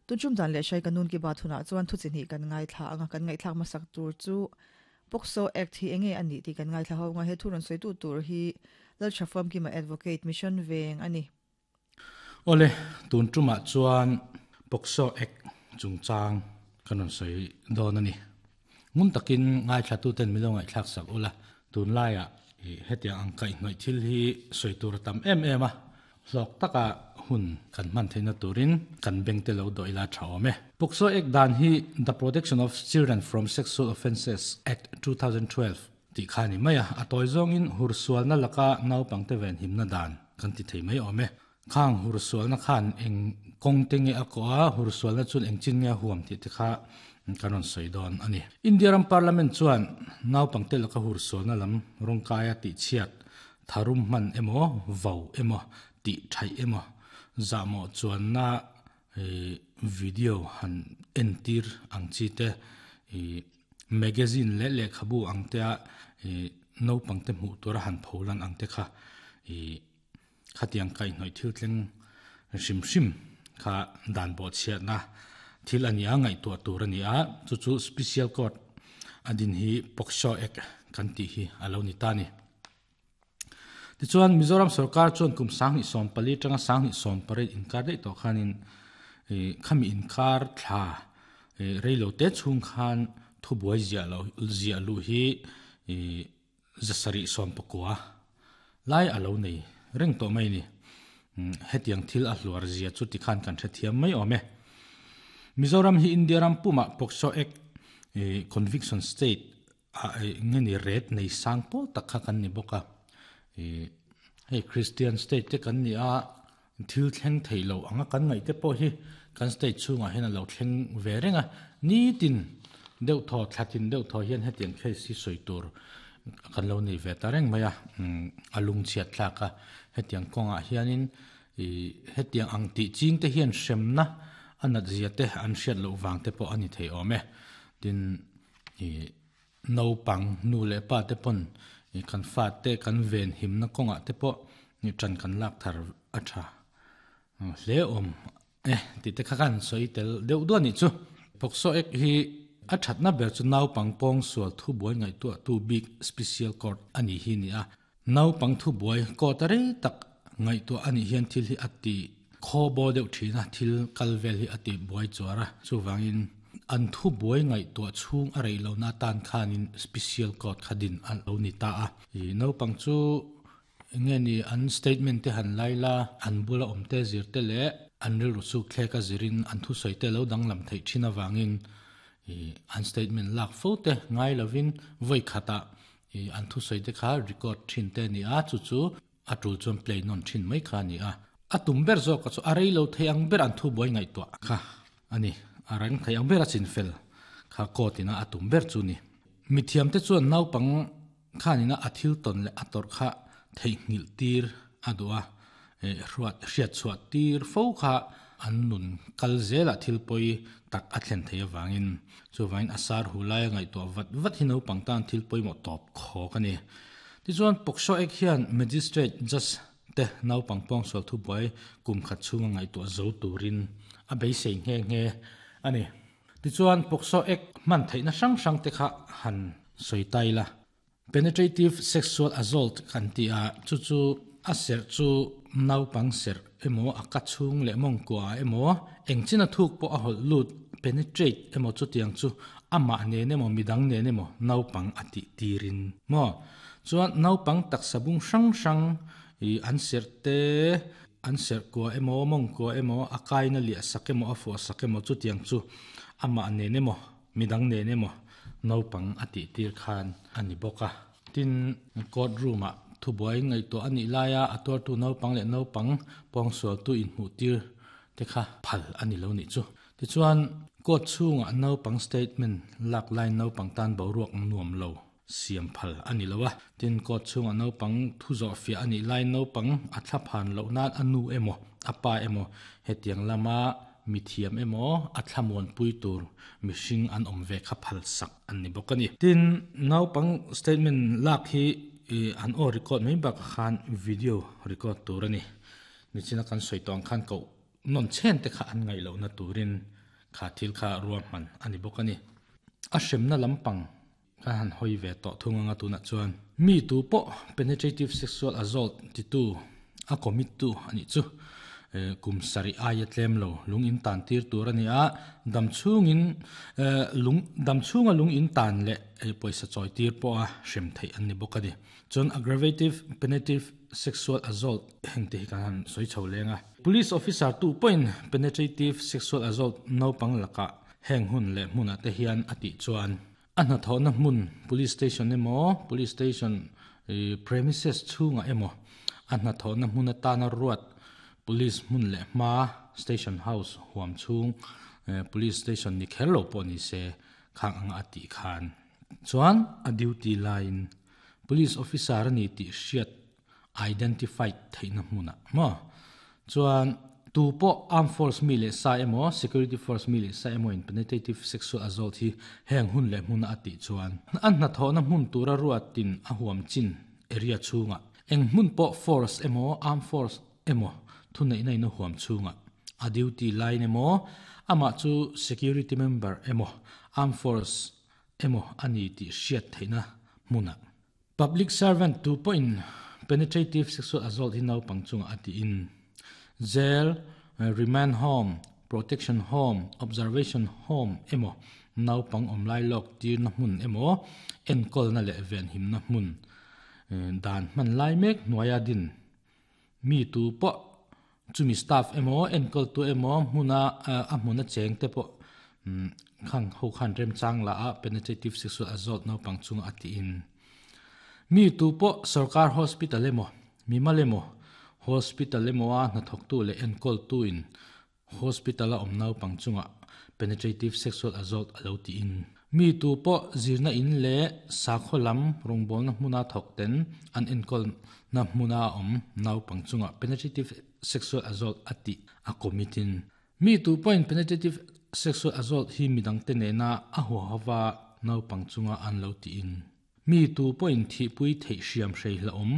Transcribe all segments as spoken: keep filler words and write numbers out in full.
Tunchum dan le shai kanun ki bathuna chuan thu chini kan ngai thla anga kan ngai thlak masak tur chu POCSO Act hi enge ani ti kan ngai thla ho nga he thurun soi tu tur hi lal chafam ki ma advocate mission veng ani. Ole tun tuma chuan POCSO Act chungchang kanon soi don ani. Ngun takin ngai thla tu ten milo ngai thlak sak ula tun laia hetia ang kai noi thil hi soi tur tam em em a hlok taka hun kan man theina turin kan beng te lo doila thawme. POCSO Act dan hi The Protection of Children from Sexual Offences Act two thousand twelve ti khani maya atoi zong in hursual na laka nau pangte ven himna dan kan ti thei mai ome. Khang hursual na khan eng kong tenge akoa hursual na chun eng chin nge huam ti te kha kanon soidon ani. India ram parliament chuan nau pangte laka hursual na lam rongkaya ti chiat tharum man emo vau emo ti thai emo zamo chuan na video han entir ang chi te magazine le le khabu ang te a no pangte mu tura han pholan ang te kha khatiang kai noi thil tleng sim sim kha dan bo chiat na thil ani a ngai tu tur ani a chu chu special court adin hi POCSO Act kan ti hi alo ni ta ni. Ti chuan Mizoram sarkar chuan kum sang ni som pali tanga sang ni som pare inkar dei to khanin khami inkar thla reilo te chung khan thu buai zia lo zia lu hi zasari som pakua lai alo nei reng to mai ni. Hetiang thil a hluar zia chu ti khan kan thethiam mai ome. Mizoram hi India ram puma POCSO Act conviction state a ngeni ret nei sang pol tak kha kan ni boka. Hei Christian state te kan ni a thil thleng theilo anga kan ngai te pawh hi kan state chunga hian lo thleng ve renga ni tin deuh thaw thlatin deuh thaw hian hetiang case hi soi tur kan lo nei ve ta reng mai a alung chiat thlaka hetiang kawnga hianin hetiang ang ti ching te hian hremna anat zia te an hriat loh wang te pawh ani thei awm e. Tin no pang nu le pa te pawn kan fa te kan ven himna kawnga te pawh ni tran kan lak thar a tha hle awm e ti te kha kan soi tel deuh duan ni chu. POCSO Act hi a thatna ber chu nau pang pawng sual thu buai ngai tu tu big special court ani hi ni a nau pang thu buai ko ta rei tak ngai tu ani hian thil hi ati kho bo deuh thina thil kalvel hi ati buai chuara chuwangin an thu buai ngai tu chung a rei lo na tan khanin special court khadin an lo ni ta a i nau pang chu nge ni an statement te han laila an bula om te zir te le an ril ru su thleka zirin an thu soi te lo dang lam thei thina wangin an statement lak fo te ngai lovin voi khata an thu soi te kha record thin te ni a chu chu atul chuan play non thin mai kha ni a atum ber zo ka chu arei lo thei ang ber an thu boi ngai to kha ani arang thei ang ber a chin fel kha ko tina atum ber chu ni mithiam te chuan nau pang khanina athil ton le ator kha thei ngil tir adua e ruat hriat chuat tir fo kha an nun kalzela thil poi tak a thlen thei awangin chuwain asar hulai ngai to vat vat hi no pangtan thil poi mo top kho kani. Ti chuan POCSO Act hian magistrate just te nau pangpong sol thu boi kum khat chunga ngai to zo turin a beisei nge nge ani. Ti chuan POCSO Act man theina sang sang te kha han soitai la penetrative sexual assault kan ti a chu chu a ser chu nau pang ser emo a ka chung le mong kwa emo engchina thuk po a hol lut penetrate emo chu tiang chu ama ne ne mo midang ne ne mo nau pang ati tirin mo chuan nau pang tak sabung sang sang i an ser te an ser kwa emo mong kwa emo akai na li sakemo afo sakemo chu tiang chu ama ne ne mo midang ne ne mo nau pang ati tir khan ani boka. Tin court room a thu buai ngai to ani laia ator tu nau pang le nau pang pong so tu in hu tir te kha phal ani lo ni chu. Ti chuan court chunga nau pang statement lak lai nau pang tan bo ruak nuam lo siam phal ani lowa. Tin court chunga nau pang thu zo fia ani lai nau pang a thla phan lo na anu emo apa emo hetiang lama mithiam emo a thlamon pui tur mihring an awm ve kha phal sak an ni bawk ani. Tin nau pang statement lak hi an o record mai bak khan video record tur ani. Nichina kan soi tawng khan ko Non chen te kha an ngai lo na turin kha thil kha ruam man ani bokani a hremna lampang ka han hoi ve to thunga nga tuna chuan mi tu po penetrative sexual assault ti tu a commit tu ani chu kum sari aya tlem lo lung in tan tir tur ani a dam chung in lung dam chunga lung in tan le poisa choi tir po a hrem thei an ni bokani chon aggravative penetrative sexual assault hengte hi kan soi chho lenga police officer tu point penetrative sexual assault no pang laka heng hun le hmuna te hian ati chuan a hna thawhna hmun police station emaw police station premises chhunga emaw a hna thawhna hmun atana ruat police hmun leh hma station house huam chhung police station ni kher lo pawh ni se khang anga ati khan chuan a duty line police officer ani tih hriat identified theihna hmuna maw chuan tu po armed force mi le sa emaw security force mi le sa emaw in penetrative sexual assault hi heng hun le hmuna ati chuan an hna thawhna hmun tura ruatin a huam chin area chhunga eng hmun pawh force emaw armed force emaw thu nei nei na huam chhunga a duty line emaw ama chu security member emaw armed force emaw ani tih hriat theihna hmuna public servant tu pawhin penetrative sexual assault hi naupang chunga ati in jail remand home protection home observation home emaw naupang awmlai lawk tir na hmun emaw enkawl na leh ven him na hmun dan hman lai mek hnuaia din mi tu pawh chumi staff emaw enkawl tu emaw hmuna a hmuna cheng te pawh khang ho khan rem chang la a penetrative sexual assault naupang chunga ati in mi tu pawh sarkar hospital emaw mimal emaw hospital emaw a hnathawk tu leh enkawl tu in hospital a awm naupang chunga penetrative sexual assault alo ti in mi tu pawh zirna in leh sakhaw lam rawngbawlna hmuna thawk ten an enkawl na hmuna awm naupang chunga penetrative sexual assault ati a commit in mi tu pawhin penetrative sexual assault hi midang te nena a huahawa naupang chunga an lo ti in mi tu pawhin thihpui theih hriam hrei hla awm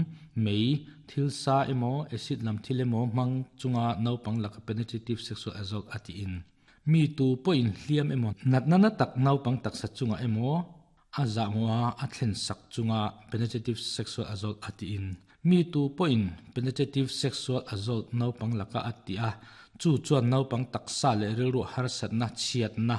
mei thil sa emaw acid lam thil emaw hmang chunga naupang laka penetrative sexual assault ati in mi tu pawhin hliam emaw natna na tak naupang taksa chunga emaw a zahmaw a thlen sak chunga penetrative sexual assault ati in mi tu pawhin penetrative sexual assault naupang laka ati a chu chuan naupang taksa leh rilru harsatna chhiatna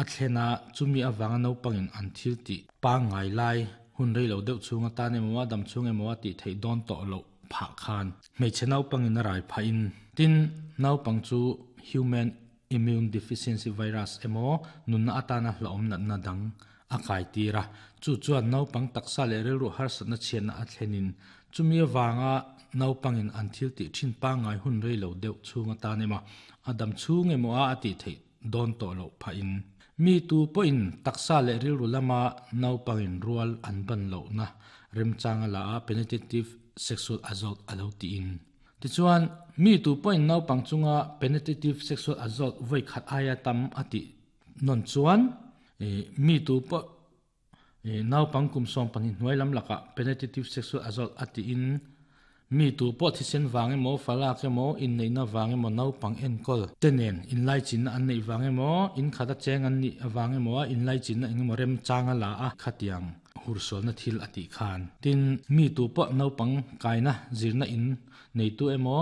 a thlena chumi awanga naupangin an thil tih pangngai lai hun rei lo deuh chhunga tan emaw a dam chhung emaw a tih theih dawn tawh loh phah khan hmeichhe naupangin a rai phah in tin naupang chu human immune deficiency virus emaw nunna atana hlauhawm natna dang a kai tir a chu chuan naupang taksa leh rilru harsatna chhiatna a thlenin chumi awanga naupangin an thil tih thin pangngai hun rei lo deuh chhunga tan emaw a dam chhung emaw a tih theih dawn tawh loh phah in mi tu pawhin taksa leh rilru lama naupangin rual an ban lohna remchanga la a penetrative sexual assault alo ti in tichuan mi tu pawhin naupang chunga penetrative sexual assault voi khat aia tam ati non chuan mi tu pawh naupang kum sawm pahnih hnuai lam laka penetrative sexual assault ati in mi tu pawh thisen wang emaw falak emaw in neihna wang emaw naupang enkawl te nen in lai chinna an neih wang emaw in khata cheng an nih awang emaw in lai chinna engemaw rem changa la a khatiang hursualna thil ati khan tin mi tu pawh naupang kaina zirna in nei tu emaw